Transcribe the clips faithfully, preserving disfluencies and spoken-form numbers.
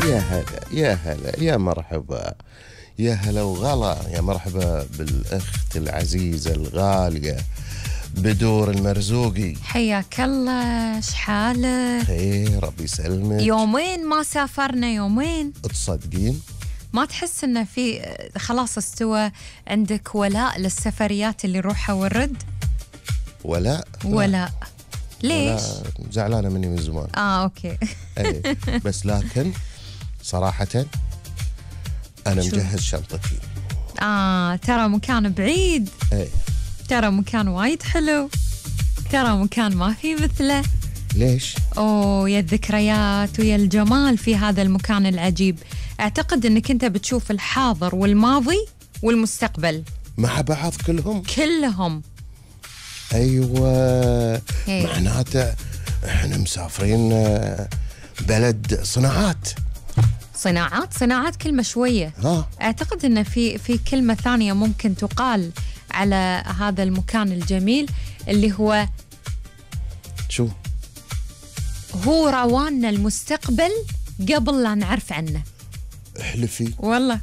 يا هلا يا هلا يا مرحبا يا هلا وغلا، يا مرحبا بالأخت العزيزة الغالية بدور المرزوقي. حياك الله، شحالك؟ خير، ربي يسلمك. يومين ما سافرنا، يومين. تصدقين؟ ما تحس انه في خلاص استوى عندك ولاء للسفريات اللي روحها والرد؟ ولاء؟ ولاء ليش؟ ولاء زعلانة مني من زمان. اه اوكي. ايه بس لكن صراحة أنا مجهز شنطتي. آه ترى مكان بعيد. ايه ترى مكان وايد حلو، ترى مكان ما في مثله. ليش؟ أوه يا الذكريات ويا الجمال في هذا المكان العجيب. أعتقد أنك أنت بتشوف الحاضر والماضي والمستقبل مع بعض كلهم كلهم. أيوة هي. معناته احنا مسافرين بلد صناعات. صناعات صناعات كلمة شوية. ها. أعتقد أن في في كلمة ثانية ممكن تقال على هذا المكان الجميل اللي هو شو؟ هو رواننا المستقبل قبل لا نعرف عنه. احلفي والله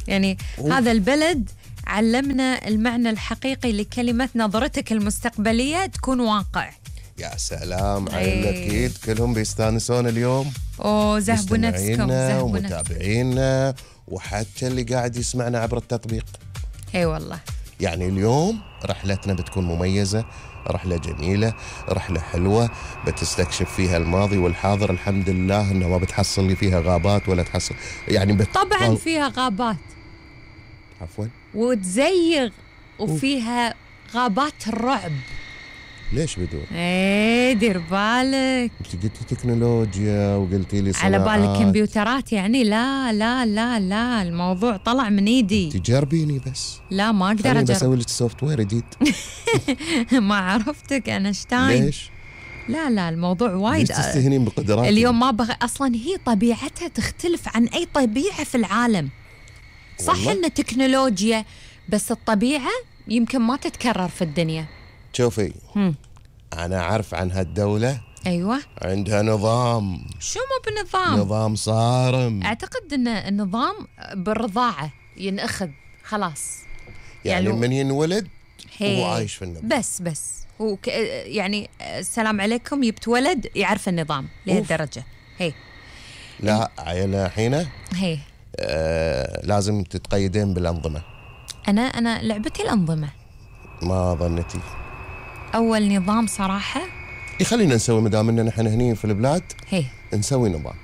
يعني أوه. هذا البلد علمنا المعنى الحقيقي لكلمة نظرتك المستقبلية تكون واقع. يا سلام على الأكيد كلهم بيستانسون اليوم. أوه زهبوا نفسكم، زهبوا ومتابعينا وحتى اللي قاعد يسمعنا عبر التطبيق. اي والله. يعني اليوم رحلتنا بتكون مميزة، رحلة جميلة، رحلة حلوة بتستكشف فيها الماضي والحاضر. الحمد لله إنه ما بتحصل لي فيها غابات ولا تحصل يعني بت... طبعا فيها غابات. عفوا. وتزيغ وفيها غابات الرعب. ليش بدون؟ ايه دير بالك. انت قلتي تكنولوجيا وقلتي لي صناعات. على بالك كمبيوترات يعني؟ لا لا لا لا الموضوع طلع من ايدي. تجربيني بس. لا ما اقدر اجرب. بسوي لك سوفت وير جديد. ما عرفتك اينشتاين. ليش؟ لا لا الموضوع وايد. ليش تستهينين بقدراتي؟ اليوم ما بغ... اصلا هي طبيعتها تختلف عن اي طبيعة في العالم. صح ان تكنولوجيا بس الطبيعة يمكن ما تتكرر في الدنيا. شوفي هم. أنا أعرف عن هالدولة. أيوة. عندها نظام. شو مو بنظام؟ نظام صارم. أعتقد أن النظام بالرضاعة ينأخذ خلاص. يعني, يعني من ينولد هو عايش في النظام. بس بس هو ك... يعني السلام عليكم يبتولد يعرف النظام لهالدرجة. هي لا عيلة حينه هي آه لازم تتقيدين بالأنظمة. أنا أنا لعبتي الأنظمة. ما ظنتي. أول نظام صراحة يخلينا نسوي مدام إننا نحن هني في البلاد. هي نسوي نظام.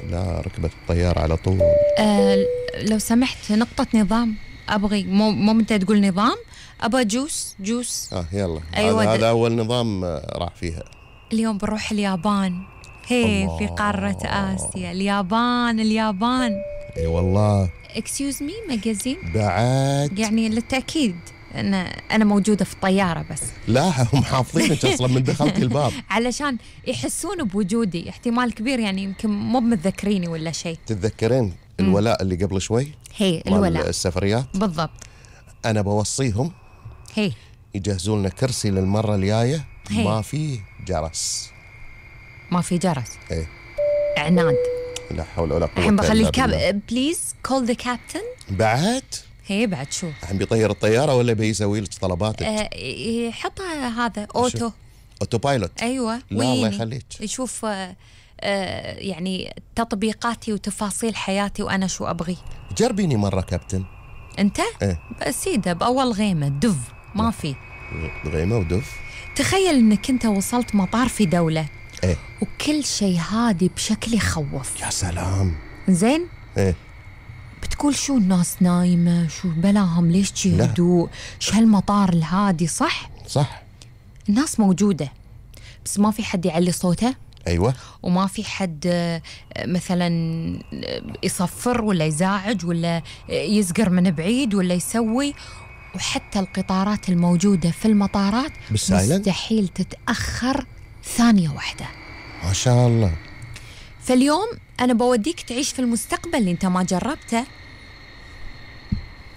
لا ركبت الطيارة على طول. أه لو سمحت نقطة نظام أبغي. مو مو أنت تقول نظام، أبغى جوس جوس. آه يلا. أيوة هذا, هذا أول نظام راح فيها. اليوم بنروح اليابان. هي الله. في قارة آسيا. اليابان اليابان. اي والله. اكسيوز مي ماجازين بعد يعني للتأكيد أنا أنا موجودة في الطيارة بس. لا هم حافظينك أصلا من دخلتي الباب. علشان يحسون بوجودي. احتمال كبير يعني يمكن مو متذكريني ولا شيء. تتذكرين الولاء اللي قبل شوي؟ هي الولاء السفريات بالضبط. أنا بوصيهم هي يجهزوا لنا كرسي للمرة الجاية ما فيه جرس. ما في جرس. ايه عناد. لا حول ولا قوة. الحين بخلي الكاب بليز كول ذا كابتن. بعد هي بعد شو الحين بيطير الطيارة ولا بيسوي لك طلباتك؟ أه يحطها هذا اوتو اوتو بايلوت. ايوه لا الله يخليك. يشوف أه أه يعني تطبيقاتي وتفاصيل حياتي وانا شو ابغي. جربيني مرة كابتن. انت ايه سيدة باول غيمة دف ما في غيمة ودف. تخيل انك انت وصلت مطار في دولة ايه وكل شيء هادي بشكل يخوف. يا سلام. زين. ايه بتقول شو الناس نايمة، شو بلاهم، ليش شي هدوء، شو هالمطار الهادي. صح صح. الناس موجودة بس ما في حد يعلي صوته. أيوة. وما في حد مثلا يصفر ولا يزاعج ولا يزقر من بعيد ولا يسوي. وحتى القطارات الموجودة في المطارات مستحيل تتأخر ثانية واحدة. ما شاء الله. فاليوم أنا بوديك تعيش في المستقبل اللي أنت ما جربته.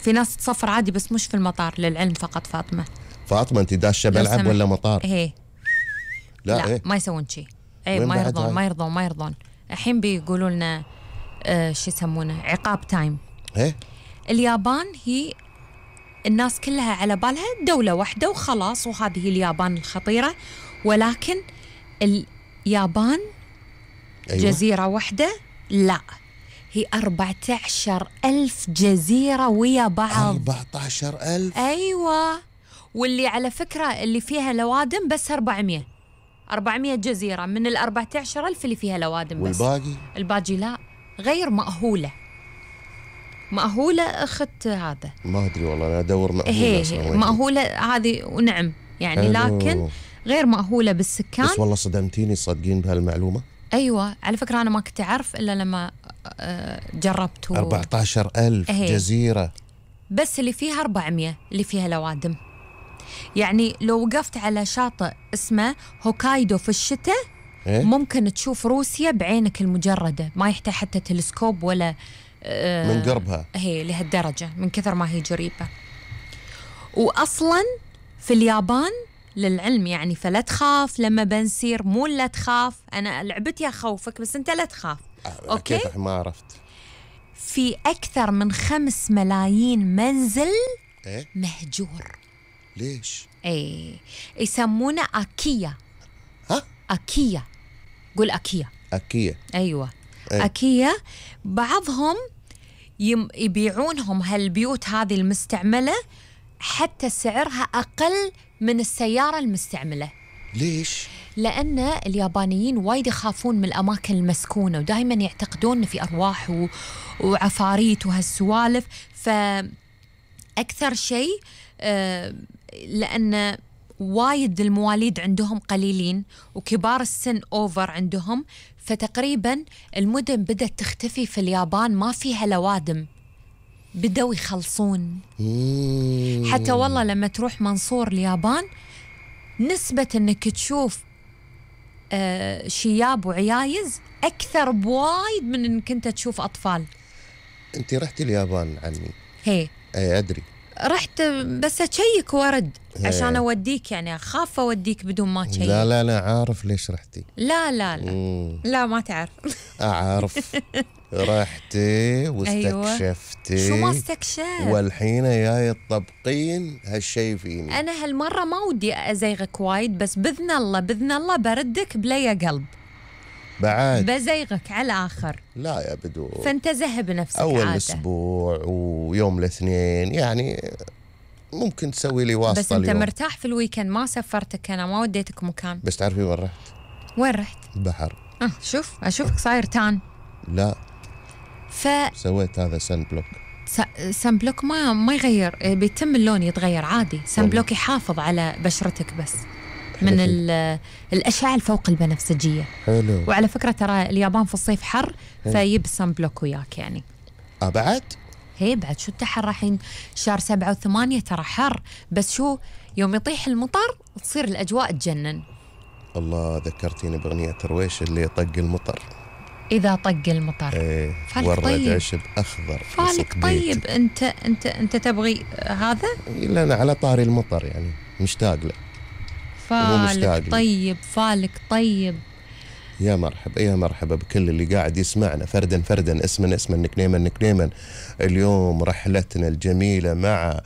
في ناس تصفر عادي بس مش في المطار للعلم فقط. فاطمة فاطمة أنت داشة ملعب ولا مطار؟ هي لا, لا إيه؟ ما يسوون شيء. اي ما يرضون ما يرضون ما يرضون الحين بيقولوا لنا آه شو يسمونه عقاب تايم. إيه؟ اليابان هي الناس كلها على بالها دولة واحدة وخلاص، وهذه اليابان الخطيرة، ولكن اليابان أيوة. جزيرة واحدة؟ لا، هي أربعة عشر ألف جزيرة ويا بعض. أربعة عشر ألف؟ أيوة، واللي على فكرة اللي فيها لوادم بس أربعمية أربعمية جزيرة من الأربعة عشر ألف اللي فيها لوادم بس. والباقي؟ الباقي لا، غير مأهولة. مأهولة أخت هذا ما أدري والله، أنا أدور مأهولة. هي مأهولة هذه ونعم يعني، لكن غير مأهولة بالسكان. بس والله صدمتيني، صادقين بهالمعلومة؟ أيوة، على فكرة أنا ما كنت أعرف إلا لما جربت. و... أربعة عشر ألف جزيرة بس اللي فيها أربعمية اللي فيها لوادم. يعني لو وقفت على شاطئ اسمه هوكايدو في الشتاء إيه؟ ممكن تشوف روسيا بعينك المجردة، ما يحتاج حتى تلسكوب ولا آه من قربها. هي لهالدرجة من كثر ما هي قريبة. وأصلا في اليابان للعلم يعني، فلا تخاف لما بنسير، مو لا تخاف، أنا لعبتي أخوفك بس أنت لا تخاف. أوكي، كيف ما عرفت؟ في أكثر من خمس ملايين منزل إيه؟ مهجور. ليش؟ ايه، يسمونه أكيا. ها؟ أكيا، قول أكيا. أكيا، أيوة. إيه؟ أكيا بعضهم يم يبيعونهم هالبيوت هذه المستعملة حتى سعرها أقل من السيارة المستعملة. ليش؟ لأن اليابانيين وايد يخافون من الأماكن المسكونة، ودائما يعتقدون إن في أرواح و... وعفاريت وهالسوالف. فأكثر شيء آه لأن وايد المواليد عندهم قليلين وكبار السن أوفر عندهم، فتقريبا المدن بدأت تختفي في اليابان، ما فيها لوادم، بدأوا يخلصون. مم. حتى والله لما تروح منصور اليابان نسبة أنك تشوف آه شياب وعيايز أكثر بوايد من أنك أنت تشوف أطفال. أنت رحتي اليابان عني؟ هي أي أدري، رحت بس أشيك ورد عشان أوديك، يعني أخاف أوديك بدون ما تشيك. لا لا لا عارف ليش رحتي. لا لا لا مم. لا ما تعرف. أعرف. رحتي واستكشفتي. أيوة. شو ما استكشف، والحين جاي تطبقين هالشي فيني. أنا هالمرة ما ودي أزيغك وايد، بس بإذن الله بإذن الله بردك بلي قلب بعد بزيغك على الآخر. لا يا بدو، فانتزه بنفسك. أول عادة. أسبوع ويوم الاثنين يعني ممكن تسوي لي واسطة. بس أنت اليوم مرتاح في الويكند، ما سفرتك أنا، ما وديتك مكان. بس تعرفي وين رحت؟ وين رحت؟ بحر. أه شوف أشوفك صاير تان. لا، ف سويت هذا سن بلوك. سن بلوك ما ما يغير، بيتم اللون يتغير عادي. سن بلوك يحافظ على بشرتك بس من الأشعة الفوق البنفسجية. حلو. وعلى فكرة ترى اليابان في الصيف حر، فيب سن بلوك وياك يعني. أه بعد؟ هي بعد شو التحر الحين شهر سبعة وثمانية ترى حر، بس شو يوم يطيح المطر تصير الأجواء تجنن. الله ذكرتيني بأغنية ترويش اللي طق المطر. إذا طق المطر. ايه ورد طيب. عشب أخضر. فالك طيب. أنت أنت أنت تبغي هذا؟ لا أنا على طاري المطر يعني مشتاق له. فالك طيب، فالك طيب. يا مرحبا يا مرحبا بكل اللي قاعد يسمعنا فردا فردا، اسما اسما نكنيما نكنيما. اليوم رحلتنا الجميلة مع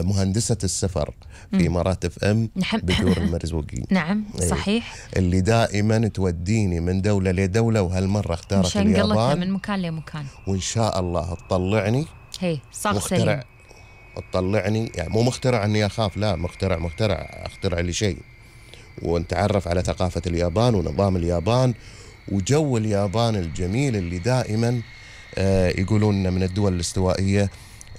مهندسة السفر في إمارات اف ام بدور المرزوقي. نعم صحيح. اللي دائما توديني من دولة لدولة، وهالمرة اختارت اليابان من مكان لمكان، وإن شاء الله تطلعني هي صح مخترع. تطلعني يعني مو مخترع اني اخاف، لا مخترع مخترع اخترع لي شيء، ونتعرف على ثقافة اليابان ونظام اليابان وجو اليابان الجميل اللي دائما آه يقولون من الدول الاستوائية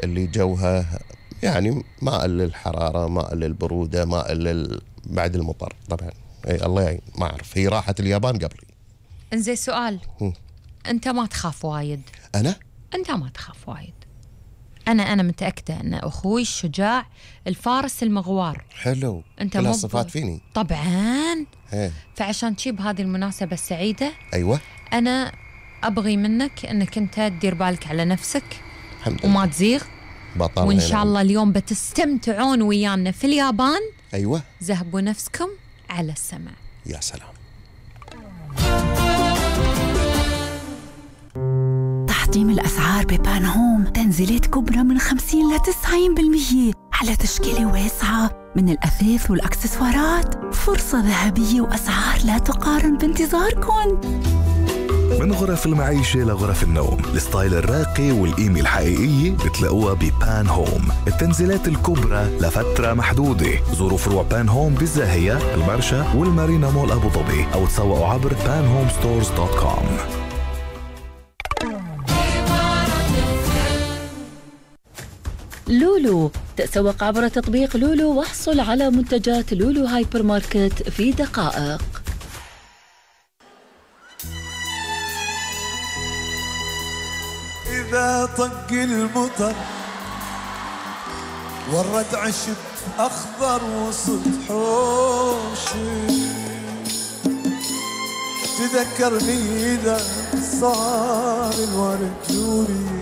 اللي جوها يعني ماء للحرارة، ماء للبرودة، ماء لل بعد المطر طبعا. اي الله يعين، ما اعرف، هي راحت اليابان قبلي. انزين سؤال، م. انت ما تخاف وايد؟ انا؟ انت ما تخاف وايد. انا انا متاكده ان اخوي الشجاع الفارس المغوار. حلو. انت كلها صفات فيني طبعا. هي. فعشان تجيب هذه المناسبه السعيده، ايوه، انا ابغي منك انك انت تدير بالك على نفسك الحمد وما تزيغ، بطل. وان شاء الله اليوم بتستمتعون ويانا في اليابان. ايوه، ذهبوا نفسكم على السمع. يا سلام. تقديم الأسعار ببان هوم تنزيلات كبرى من خمسين لتسعين بالمية على تشكيلة واسعة من الأثاث والأكسسوارات. فرصة ذهبية وأسعار لا تقارن بانتظاركم. من غرف المعيشة لغرف النوم، الستايل الراقي والقيمة الحقيقية بتلاقوها ببان هوم. التنزيلات الكبرى لفترة محدودة. زوروا فروع بان هوم بالزاهية، المرشا والمارينا مول أبو ظبي، أو تسوقوا عبر بان هوم ستورز دوت كوم. لولو، تسوق عبر تطبيق لولو واحصل على منتجات لولو هايبر ماركت في دقائق. إذا طق المطر ورد عشب أخضر وسط حوشي، تذكرني إذا صار الورد نوري